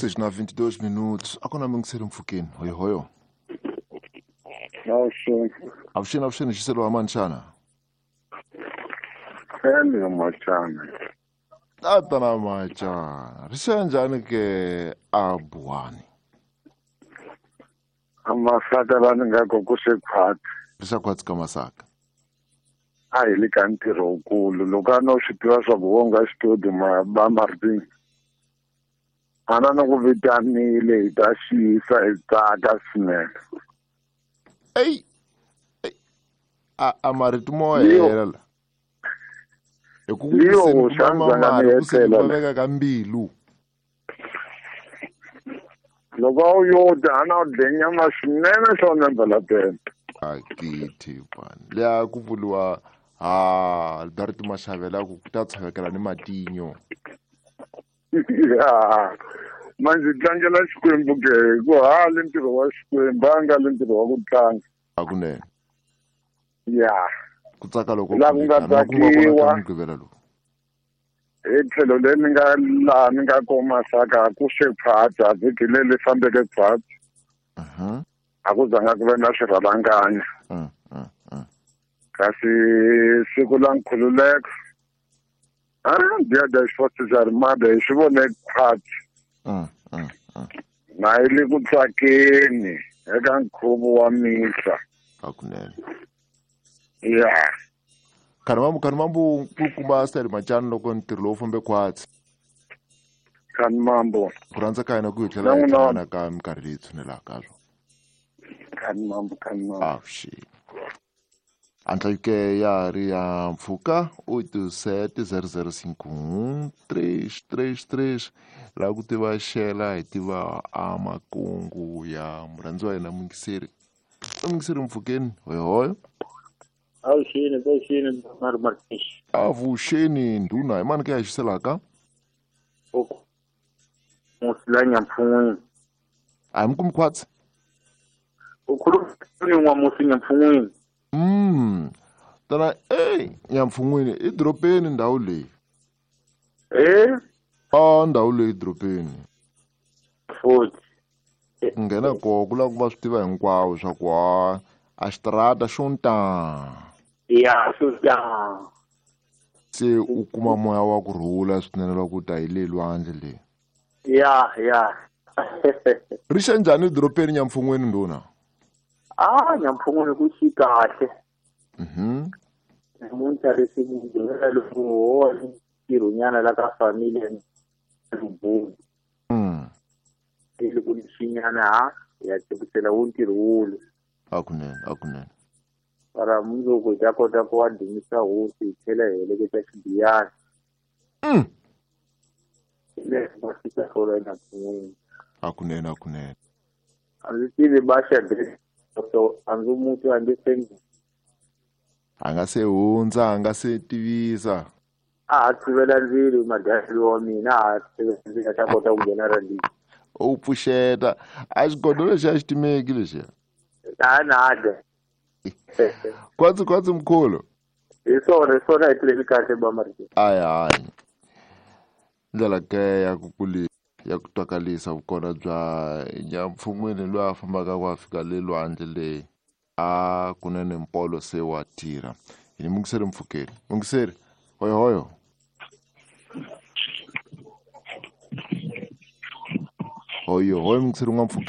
6 na 22 minutos. Akona mingiseri mpfhukeni. Hoyo hoyo. Avuxeni. Avuxeni avuxeni xiselo wa mani xana? Feni machana. Tatana machana. Ri xa njhani ke a Buwani? Amasaka la ni nga ko ku se khwatsi. Ri xa khwatsi ka Masaka. A hi le ka ntirho wukulu loko a no swi tiva swa ku wo nga xitodi ma ba Martin. Ana no ku vitanile hi ta xiyisa hi tsaka swinene. Ey. A marito mo hela la. Hi ku Liyo xandla nga ni etlela. Veka ka mbilu. Loko a wu yo dya a na u dye nyama swinene swona mbala tena. Akithi bani. Leya ku vuriwa ha Alberto Mashavela ku ta tshavekela ni matinyo. Ya. Manje tlangela Xikwembu ke ku hali ntirho wa Xikwembu a nga le ntirho wa ku tlanga. Hakunene. Ya. Ku tsaka loko la ku nga tsakiwa. Mugqivela lowu. Hi tlhelo leri ni nga laha ni nga koma Masaka ku se khwatsi vhiki leri fambeke khwatsi. A ku zanga ku ve na swirhalanganya. Kasi siku la nkhululeko Dia das Forças Armadas hi swi vone khwatsi. Na yi le ku tsakeni eka nkhuvo wa misa. Hakunene. Ya. Khani mambo nkulukumba Stanley Machana loko ntirho lowu fambe khwatsi. Khani mambo. Ku rhandza ka hina ku hi tlhela hi hlangana ka minkarhi leyi tshunelaka swo. Khani mambo khani mambo. Avuxeni. Antla ya ri ya mpfhuka 870051 la ku tiva xela hi tiva a makungu ya murhandzi wa hina mungiseri. Mungiseri mpfhukeni hoyo hoyo. Avuxeni avuxeni Mari Martins. Avuxeni ndhuna hi mani ke ya xiselaka? Musi la Nyampfun'wini. A hi mi kumi khwatsi? U khuluma ni n'wamusi Nyampfun'wini. Tana Nyampfun'wini i doropeni ndhawu leyi. A ndhawu leyi doropeni. Futhi. Ku nghena kona ku lava ku va swi tiva hinkwawo swa ku a xitarata xo ta. Ya xo ta. Se u kuma moya wa ku rhula swinene loko u ta hi le lwandle le. Ya ya. Ri xa njhani doropeni Nyampfun'wini ndhuna? Nyampfun'wini ku xi kahle. Namuntlha ri Mugqivela loko ho ntirhonyana la ka familia Lubuni. Loko ni xinyana ha ya tirhisela wo ntirho wulu. Hakunene hakunene. Para mundzuku hi ta kota ku wa dumisa hosi hi tlhela hi heleketa xibiyana. Leswi va fika swona eNyampfun'wini. Hakunene hakunene. A ndzi tivi Baxa so a ndzi muti a ndzi se a nga se hundza a nga se tivisa. A ha tshivela ndzilo madyelo wa mina a ha tshivela ndzilo a ta kota ku nghena ra ndini. U pfuxeta a xigodo lexi a xi timeki lexiya. A na dya. Kwatsi kwatsi mkhulu. Hi swona hi swona hi tleli kahle ba Martin. Ayi hayi. Ndlela ke ya ku kuli ya ku twakalisa vukona bya Nyampfun'wini loyi a fambaka ku a fika le lwandle le a kunene mpolo se wa tirha. Hi ni mungiseri mpfhukeni. Mungiseri hoyo hoyo. Hoyo hoyo mungiseri n'wampfhukeni.